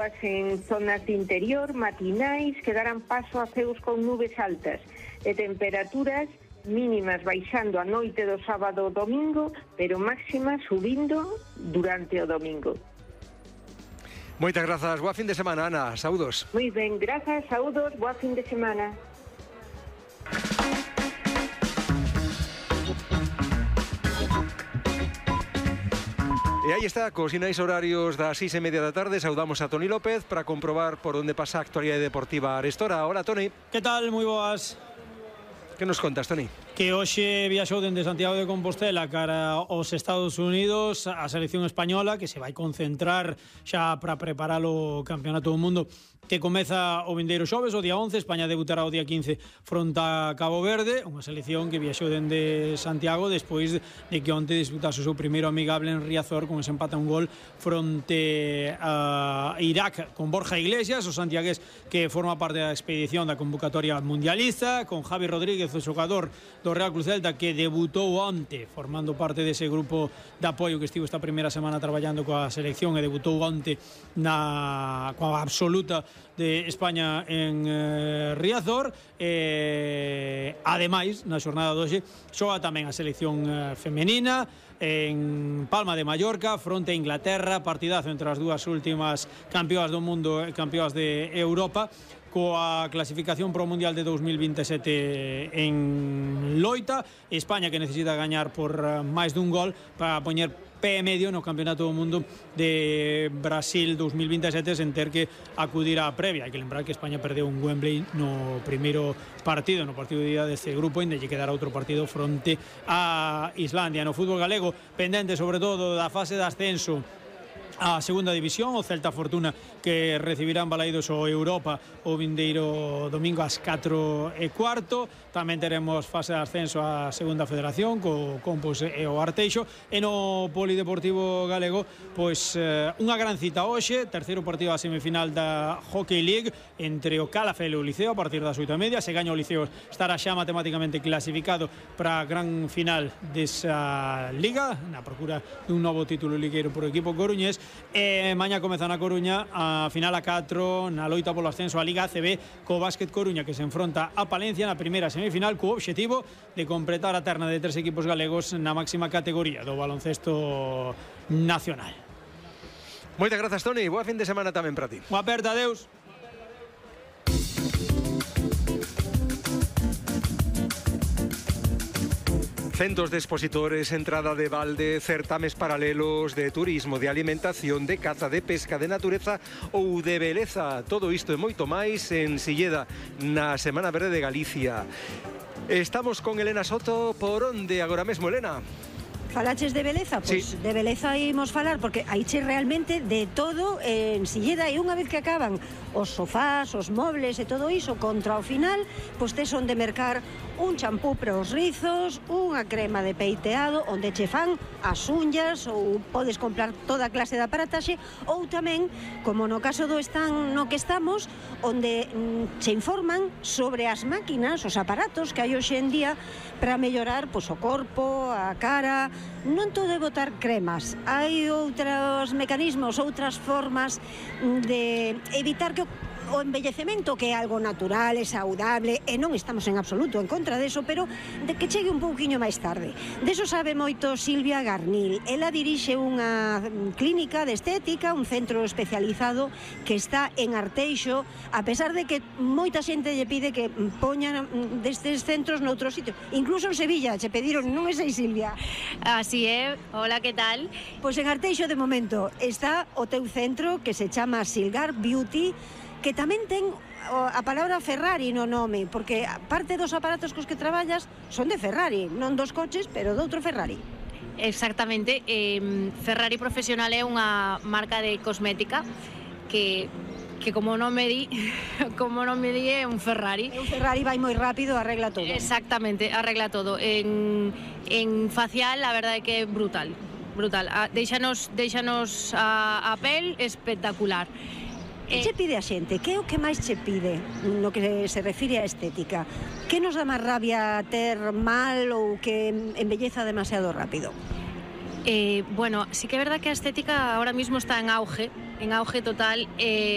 En zonas de interior, matinais, que darán paso a ceos con nubes altas e temperaturas mínimas baixando a noite do sábado ao domingo, pero máximas subindo durante o domingo. Moitas grazas, boa fin de semana, Ana, saúdos. Moi ben, grazas, saúdos, boa fin de semana. E aí está, cos sinais horarios das 6:30 da tarde, saudamos a Toni López para comprobar por onde pasa a actualidade deportiva arestora. Hola, Toni. Que tal? Moi boas. Que nos contas, Toni? Que hoxe viaxou dende Santiago de Compostela cara aos Estados Unidos a selección española, que se vai concentrar xa para preparar o Campeonato do Mundo que comeza o vindeiro xoves, o día 11. España debutará o día 15 fronte a Cabo Verde, unha selección que viaxou dende Santiago despois de que onte disputase o seu primeiro amigable en Riazor con ese empate a un gol fronte a Irak con Borja Iglesias, o santiagués que forma parte da expedición da convocatoria mundialista, con Javi Rodríguez, o xogador do Real Cruz Celta que debutou onte formando parte dese grupo de apoio que estivo esta primeira semana traballando coa selección e debutou onte coa absoluta de España en Riazor. Ademais, na xornada de hoxe xoga tamén a selección femenina en Palma de Mallorca fronte a Inglaterra, partidazo entre as dúas últimas campeoas do mundo e campeoas de Europa, coa clasificación pro Mundial de 2027 en loita. España que necesita gañar por máis dun gol para poñer pé e medio no Campeonato do Mundo de Brasil 2027 sen ter que acudir á previa. Hai que lembrar que España perdeu un Wembley no primeiro partido, no partido de día deste grupo, e lle quedará outro partido fronte a Islandia. No fútbol galego, pendente sobre todo da fase de ascenso a segunda división, o Celta Fortuna que recibirán Balaidos o Europa o vindeiro domingo ás 4:15. Tamén teremos fase de ascenso a segunda federación co Compos e o Arteixo. E no Polideportivo Galego, pois unha gran cita hoxe, terceiro partido da semifinal da Hockey League entre o Calafell e o Liceo a partir das 8:30. Se gaña o Liceo estará xa matemáticamente clasificado para a gran final desa liga, na procura dun novo título ligueiro por equipo coruñés. E mañá comeza na Coruña a final a 4 na loita polo ascenso a Liga ACB co Básquet Coruña que se enfronta a Palencia na primeira semifinal co obxectivo de completar a terna de 3 equipos galegos na máxima categoría do baloncesto nacional. Moitas grazas, Toni, boa fin de semana tamén para ti. Boa aperta, adeus. Centos de expositores, entrada de balde, certames paralelos de turismo, de alimentación, de caza, de pesca, de natureza ou de beleza. Todo isto e moito máis en Silleda, na Semana Verde de Galicia. Estamos con Elena Soto. Por onde agora mesmo, Elena? Falaches de beleza? Pois sí, de beleza imos falar, porque haiche realmente de todo en Silleda, e unha vez que acaban os sofás, os mobles e todo iso, contra o final, pois tes onde mercar un champú para os rizos, unha crema de peiteado, onde che fan as unhas, ou podes comprar toda a clase de aparataxe, ou tamén, como no caso do stand no que estamos, onde che informan sobre as máquinas, os aparatos que hai hoxe en día para mellorar pois, o corpo, a cara. Non todo é botar cremas, hai outros mecanismos, outras formas de evitar que o envellecemento, que é algo natural e saudable, e non estamos en absoluto en contra deso, pero de que chegue un pouquiño máis tarde. Deso sabe moito Silvia Garnil. Ela dirixe unha clínica de estética, un centro especializado que está en Arteixo, a pesar de que moita xente lle pide que poñan destes centros noutro sitio. Incluso en Sevilla che pediron, non é sei, Silvia? Así é, hola, que tal? Pois en Arteixo de momento está o teu centro que se chama Silgar Beauty, que tamén ten a palabra Ferrari no nome, porque parte dos aparatos cos que traballas son de Ferrari, non dos coches, pero de outro Ferrari. Exactamente, Ferrari Profesional é unha marca de cosmética que como non me di é un Ferrari. Un Ferrari vai moi rápido, arregla todo. Exactamente, arregla todo. En facial, a verdade é que é brutal. Deixanos a pel espectacular. Que che pide a xente? Que é o que máis che pide no que se refire a estética? Que nos dá máis rabia ter mal ou que embelleza demasiado rápido? Bueno, sí que é verdad que a estética ahora mismo está en auge total.